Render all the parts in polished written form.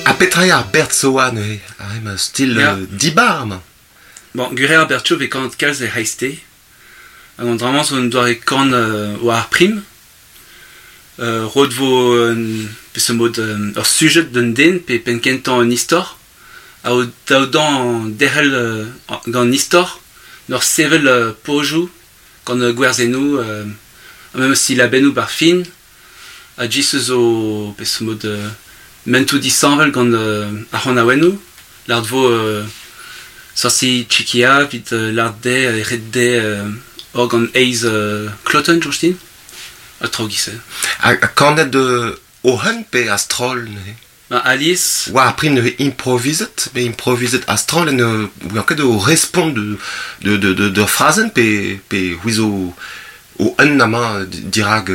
Ha petra eo ar bertsoa neuze? Ar ma stil Ya. dibar amañ. Bon, gwir eo ar bertso vez kanet kalz er c'hreisteiz. Hag an dra-mañ zo un doare kan war ar prim. Roet vo un peseurt mod ur sujed d'un den pe penn-kentañ un istor. Ha o daou derc'hel gant an istor, n'ur sevel pozioù gant gwerzennoù ha memes silabennoù 'bar fin. Ha just zo peseurt mod mentoù disheñvel gant ar c'hanaouennoù. Lâret vo sorsi Tchekia evit lâret dezhe ret dezhe ober gant eizh klotenn soñj din. Ha traoù giz-se. Ha kanet o-un pe a-stroll neuze? Ma alies. War ar prim neuze improvizet, pe improvizet a-stroll en ur ket o respont d'ur frazenn pe pe c'hwi zo o-un amañ dirak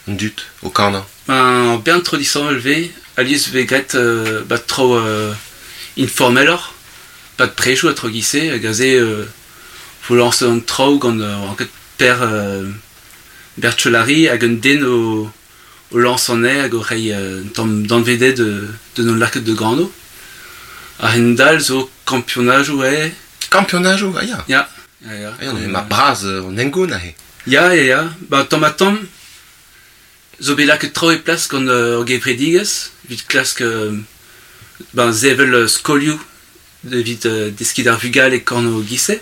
an dud o kanañ? Ben, bern traoù disheñvel 'vez. Alies 'vez graet 'ba traoù informeloc'h, 'pad prejoù ha traoù giz-se hag aze vo lañset an traoù gant oa ket Per Berthelary hag un den o o lañs anezhe hag o reiñ un tamm danvez dezhe da hon lakaat da gano. A-hend-all zo kampionajoù eo. Kampionajoù, ah ya. Ya, ya, ya. Ah ya, ma bras an hengoun aze. Ya, ya, ya. Ba tamm-ha-tamm zo bet lakaet traoù e plas gant ur gevredigezh evit klask ben sevel skolioù evit deskiñ d'ar vugale korn giz-se.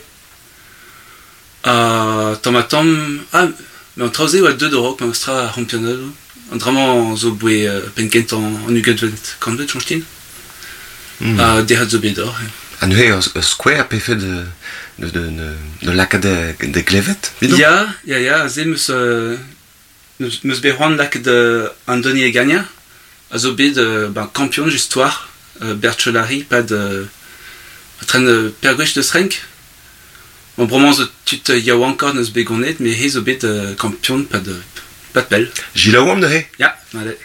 Ha tamm-ha-tamm, ah, met an traoù-se a oa deuet a-raok memestra ar c'hampionadoù. An dra-mañ zo boe penn-kentañ an ugentvet kantved, soñj din. Ha derc'het zo bet deoc'h. Ha neuze ur skouer pefe de lakaat da glevet, evidon? Ya, ya, ya, aze 'm eus 'meus bet c'hoant lakaat Andoni Egaña, a zo bet ben, kampion just war Berthelary 'pad tren per gwech deus renk. Bon, bremañ zo tud yaouankoc'h n'eus bet ganet, met he zo bet kampion 'pad pell. Jilaouomp neuze? Ya, allez.